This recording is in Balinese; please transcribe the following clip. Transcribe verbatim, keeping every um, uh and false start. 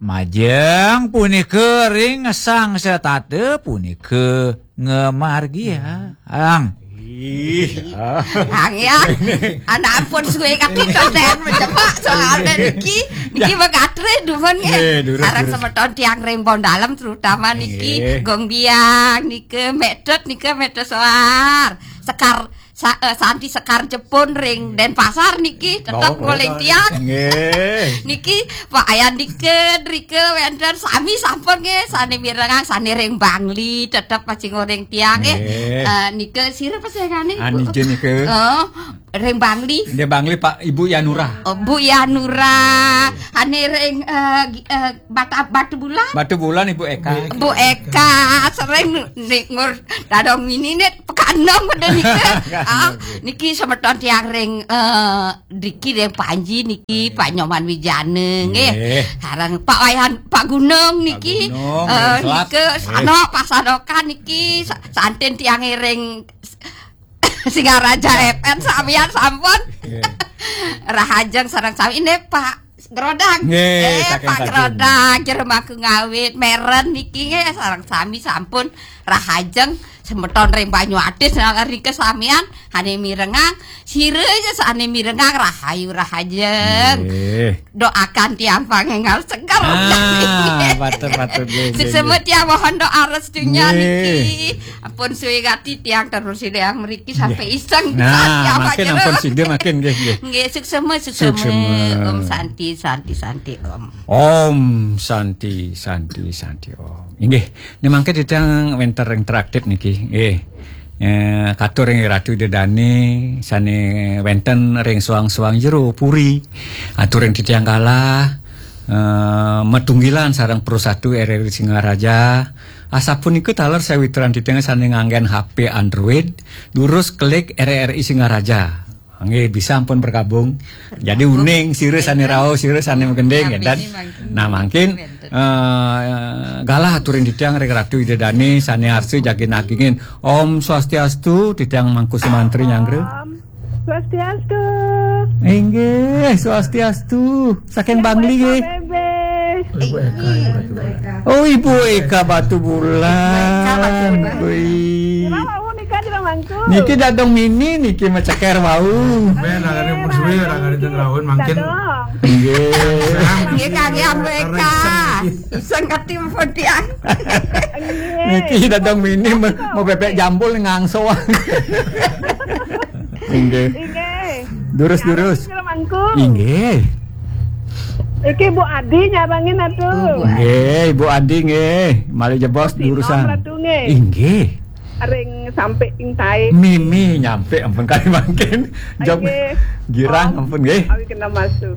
Majeng punika ring sang setata punika ngamargiang. Ih. Ang ya, anak ampun suwe kaki konten mencepak soalnya niki, niki megatre dumun nggih. Nggih, durus, sareng durus. Semeton tiang ring Bondalem terutama niki, nggih. Gong Biang nika, Metet nika, Metet Soar. Sekar sa, eh, Santi Sekar Jepun ring Denpasar niki tetep, oh, ngoling tiang. Nggih. Niki Pak Ayandika, drika wenten sami sampun nggih, sane mirengang, sane ring Bangli tetep pacing ngoling tiang nggih. Nggih. Eh, nika sira pesengane, ah, Bu? Niki nika. Oh, ring Bangli. Nggih, Bangli, Pak, Ibu Yanura. Oh, Bu Yanura. Ane ring, eh, gi- eh, Bata, Batu Bulan. Batu Bulan, Ibu Eka. Bu Eka, sering ningur dadong mini nih, Pekanong pada nika. Ah, niki semeton tiang ring, eh, driki ring Panji niki, Pak Nyoman Wijana nggih. Nggih. Sareng Pak Wayan, Pak Gunung niki. Pak Gunung, eh, ring Selat. Nika, nggih. Sanok, Pak Sanokan niki, sa- santen tiang ring Singaraja F M samian sampun. Nggih. Rahajeng sareng sami ini Pak Grodang. Nggih, eh, saking Pak saking. Grodang, jero mangku ngawit, meren niki nggih sareng sami sampun rahajeng semeton ring Banyu Atis nalar nika samian ane mirengang, sira aja sane mirengang rahayu rahajeng. Nggih. Doakan tiang pangenggal seger. Ah, patut, patut, nggih, nggih, suksema nggih. Tiang mohon doa restunya nggih. Niki. Ampun suwe gati tiang terus sida yang mriki sampai iseng. Nah, tiang makin jero. Ampun sida makin nggih, nggih. Nggih, suksema, suksema. Suksema. Om Santi, Santi, Santi, Om. Om Santi, Santi, Santi, Om. Inggih, ne mangke titiang wenten interaktif niki. Nggih. Eh, katur ring Ratu Ida Dane sane wenten ring soang-soang jero puri. Atur ring titiang galah, eh, matunggilan sareng Pro Satu R R I Singaraja. Asapunika taler sawitran titiang sane nganggen H P Android, durus klik R R I Singaraja. Nggih, bisa ampun bergabung. Jadi uning sira sane rauh, sira sane magending, ya, dan nah mangkin, eh, galah aturin titiang ring Ratu Ida Dane sane arsa jagi nagingin. Om Swastiastu, titiang Mangku Sumantri nyanggra. Om Swastiastu. Inggih, Swastiastu. Saking Bangli nggih. Ibu Eka, Ibu Eka. Oh, Ibu Eka Batu Bulan. Ibu Eka Batu Bulan. Wih. Kenapa mau nikah di Bangku? Niki dadong mini niki maceker wau. Ben, nangane pun suwe, nangane ten raun mangkin. Dadong. Nggih. Nggih, kangge Ibu Eka. Iseng kati pun tiang. Nggih. Niki dadong mini mau, mau bebek jambul ngangso. Inggih. Inggih. Durus, durus. Mangku. Inggih. Iki Bu Adi nyarengin atuh. Oh, Bu Adi. Nggih, Bu Adi nggih. Malih jebos durusan. Ratu nggih. Inggih. Ring sampe ing tae. Mimi nyampe ampun kali mangkin. Jog nggih. Girang ampun nggih. Awi kena masuk.